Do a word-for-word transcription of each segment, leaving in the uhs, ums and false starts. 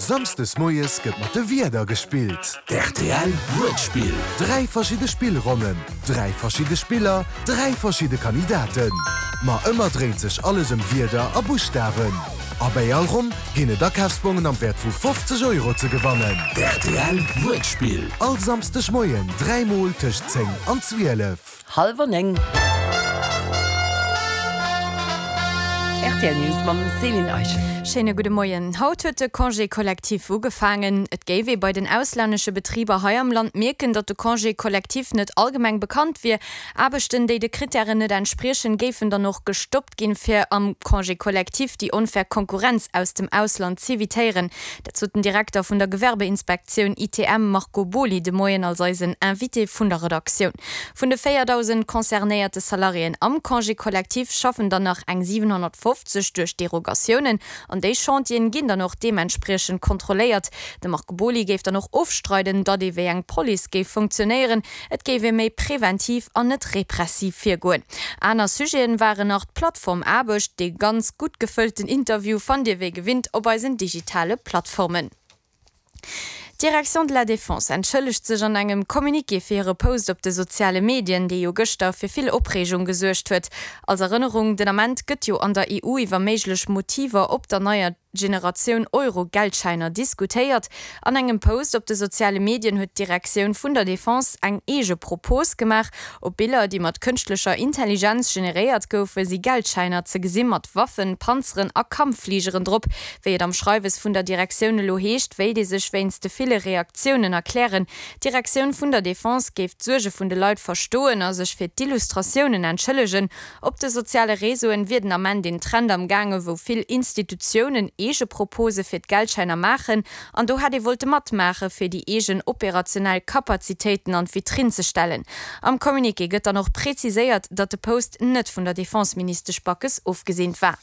Samsdes moies gëtt mat de Wierder gespillt. D'RTL Wuertspill. Dräi verschidde Spillronnen, dräi verschidde Spiller, dräi verschidde Kandidaten. Ma ëmmer dréint sech alles ëm Wierder a Buschtawen. A bei all Ronn ginn et Akafsbongen am Wäert vu fofzeg Euro ze gewannen. D'RTL Wuertspill. All Samsdeg Moien dräi mol tëscht zéng an zwielef. Hallwer néng. Rtl News mam Céline Eischen. Schéine gudde Moien. Haut huet de Congé collectif ugefaangen. Et géif ee bei den auslännesche Betriber hei am Land mierken, datt de Congé collectif net allgemeng bekannt wier. Aarbechten, déi de Krittären net entspriechen, géifen dann och gestoppt ginn, fir am Congé collectif déi onfair Konkurrenz aus dem Ausland z'evitéieren. Dat sot den Direkter vun der Gewerbeinspektioun I T M Marco Boly de Moien als eisen Invité vun der Redaktioun. Vun de véierdausend concernéierte Salariéen am Congé collectif schaffen dann nach eng siwenhonnertfofzeg duerch Derogatiounen. An déi Chantieren ginn dann och deementspriechend kontrolléiert. De Marco Boly géif dann och ofstreiden, datt ee wéi eng Police géif funktionéieren. Et géif ee méi preventiv an net repressiv virgoen. Aner Sujeten waren nach d'Plattformaarbecht. Dee ganz gutt gefëllten Interview fannt Dir wéi gewinnt op eisen digitale Plattformen. D'Direction de la Défense entschëllegt sech an engem Communiqué fir hire Post op de soziale Medien, dee jo gëschter fir vill Opreegung gesuergt huet. Als Erënnerung, den Ament gëtt jo an der E U iwwer méiglech Motiver op der neier Generatioun Euro-Geldschäiner diskutéiert. An engem Post op de soziale Medien huet d'Direktioun vun der Defense eng eege Propos gemaach. Op Biller, déi mat kënschtlecher Intelligenz generéiert goufe, si Geldschäiner ze gesi mat Waffen, Panzeren a Kampffligeren drop. Wéi et am Schreiwes vun der Direktioun elo heescht, wéilt ee sech wéinst de ville Reaktiounen erklären. D'Direktioun vun der Defense géif d'Suerge vun de Leit verstoen a sech fir d'Illustratiounen entschëllegen. Op de soziale Réseauen wier den Ament een Trend am gaange, wou vill Institutiounen eege Propose fir d'Geldschäiner maachen an do hätt ee wollte matmaache fir déi eegen operationell Kapazitéiten an d'Vitrinn ze stellen. Am Communiqué gëtt dann och präziséiert, datt de Post net vun der Defenseministesch Backes ofgeseent war.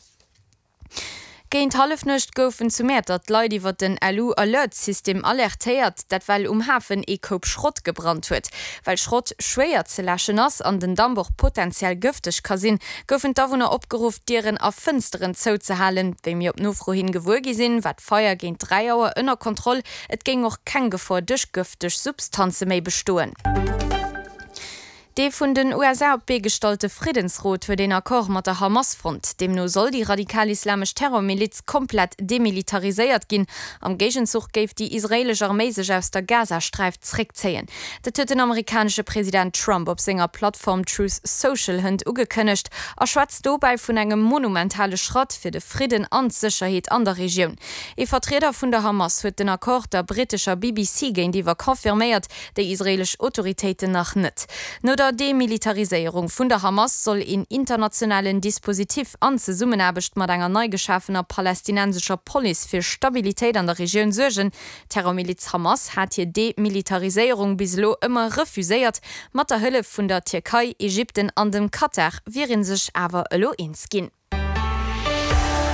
Géint Hallefnuecht goufen zu Mäertert d'Leit iwwer den L U-Alert-System alertéiert, dat well um Hafen ee Koup Schrott gebrannt huet. Well Schrott schwéier ze läschen ass an den Damp och potenziell gëfteg ka sinn, goufen d'Awunner opgeruff, Dieren a Fënsteren zouzehalen. Wéi mir op Nofro hin gewuer gi sinn, war d'Feier géint dräi Auer ënner Kontroll. Et géing och keng Gefor duerch gëfteg Substanze méi bestoen. Dee vun den U S A op d'Bee gestallte Friddensrot huet een Accord mat der Hamas fonnt. Deemno soll déi radikal-islamesch Terrormiliz komplett demilitariséiert ginn. Am Géigenzuch géif déi israelesch Arméi sech aus der Gazasträif zréckzéien. Dat huet den amerikanesche President Trump op senger Plattform Truth Social hënt ugekënnegt a schwätzt dobäi vun engem monumentale Schratt fir de Fridden an d'Sécherheet an der Regioun. Ee Vertrieder vun der Hamas huet den Accord der brittescher B B C géintiwwer confirméiert, déi israelesch Autoritéiten nach net. No der Demilitariséierung vun der Hamas soll een internationalen Dispositif an Zesummenaarbecht mat enger nei geschafener palästinensescher Police fir Stabilitéit an der Regioun suergen. D'Terrormiliz Hamas hat hir Demilitariséierung bis elo ëmmer refuséiert. Mat der Hëllef vun der Tierkei, Ägypten an dem Katar wier een sech awer elo eens ginn.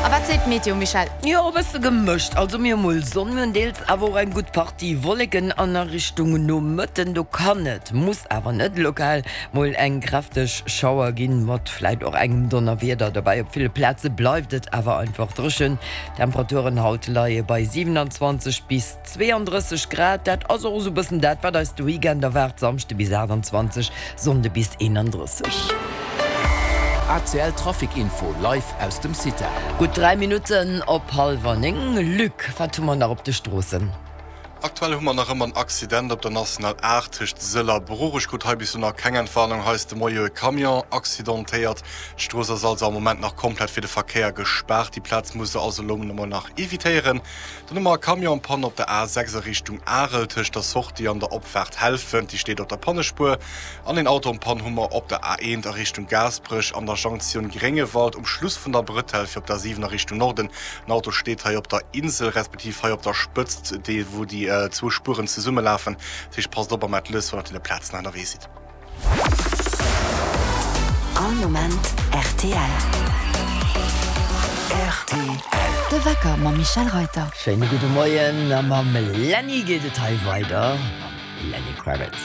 A wat seet d'Meteo, Michel? Jo, e bësse gemëscht. Also mir hu mol Sonn, mir hunn deels awer och eng gutt Partie Wolleken an a Richtung Nomëtten. Do kann et, muss awer net lokal mol eng kräfteg Schauer ginn, mat vläit och engem Donnerwieder dobäi. Op ville Plaze bleift et awer einfach dréchen. Temperaturen haut leie bei siewenundzwanzeg bis zweeëndrësseg Grad. Dat ass och esou e bëssen dat, wat eis de Weekend erwaart. Samschde bis aachtundzwanzeg, Sonnde bis eenanddrësseg. A C L Trafic Info live aus dem Cita. Gutt dräi Minutten op hallwer néng. Luc, wat hu mer nach op de Stroossen? Aktuell hu mer nach ëmmer en Accident op der National aacht tëscht Sëll a Bruch. Ech krut hei bis elo nach keng Entwarnung. Hei ass de Moie e Camion accidentéiert. D'Strooss ass also am Moment nach komplett fir de Verkéier gespaart. Déi Plaz muss der also elo emol nach evitéieren. Dann hu mer e Camion en panne op der A sechs a Richtung Arel tëscht der Sortie an der Opfaart Helfent. Déi steet op der Pannespuer. An een Auto en panne hu mer op der A eent a Richtung Gaasperech an der Jonktioun Gréngewald um Schluss vun der Bretelle fir op der siwen a Richtung Norden. En Auto steet hei op der Insel respektiv hei op der Spëtzt, déi wou déi zwou Spueren zesummelaufen. Dat heescht, passt op am Atlas, wann der op den Plazen ënnerwee sidd. All Moment R T L. R T L. De Wecker mam Michel Reuter. Schéine gudde Moien a mam Lenny geet et hei weider. Mam Lenny Kravitz.